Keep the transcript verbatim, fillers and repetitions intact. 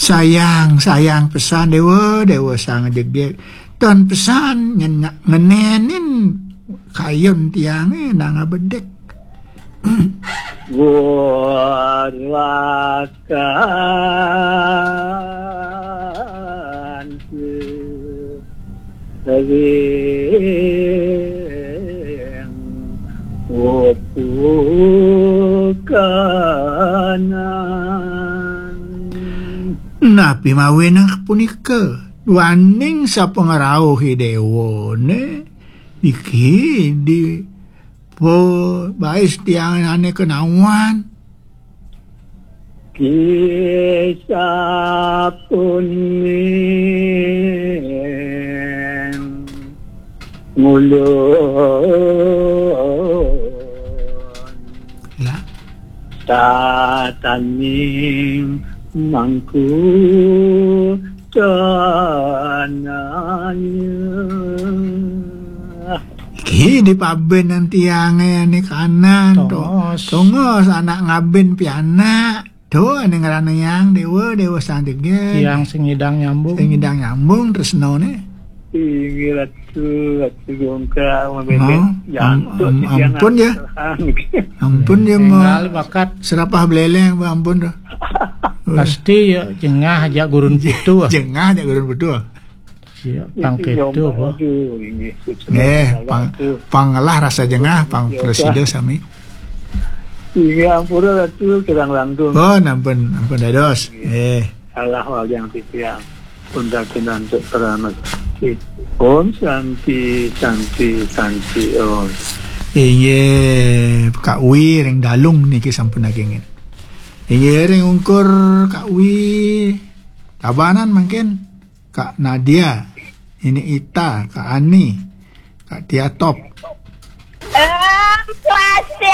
Sayang, sayang pesan Déwa, Déwa Sang Jegég. Tan pesan nyen-, ngenénin kayun tiangé nang abedék. Warakan sering upukanan. Napi mawinan punika? Duaning sapangrauh Idéwané, niki di po bais tiang ané kenawan. Kisah puning ngulun. Lah. Tataning mangku tananya. Iki di pabénan tiangé ané kanan, to. Tongos. Tongos anak ngabin pianak. To, ané ngranayang Déwa, Déwa Sang Jegég. Tiang sing ngidang nyambung. Sing ngidang nyambung tresnané. Inggih Ratu, Ratu Gongkang, mabédén. Oh, jantuk am-, am-, ampun ya. Ampun ya, Énggal bakat. Serapah beléléng, ampun dah. Pasti ya, jengah ajak gurun putu, ah. Jengah ajak gurun putu, ah. Iya, pang kéto, apa? Aduh, inggih. Eh, pang, pang ngelah rasa jengah, pang presida sami. Inggih, ampura Ratu, kirang langkung. Oh, ampun, ampun dados. Eh. Salah wayang titiang. Punten, punten, cek, pramesti. Om Santi, Santi, Santi, Om. Inggih, Kak Wi ring Dalung niki sampun nagingin. Inggih, ring ungkur Kak Wi Tabanan mangkin. Kak Nadia, ini Ita, Kak Ani, Kak Tiatop. Om Swastiastu.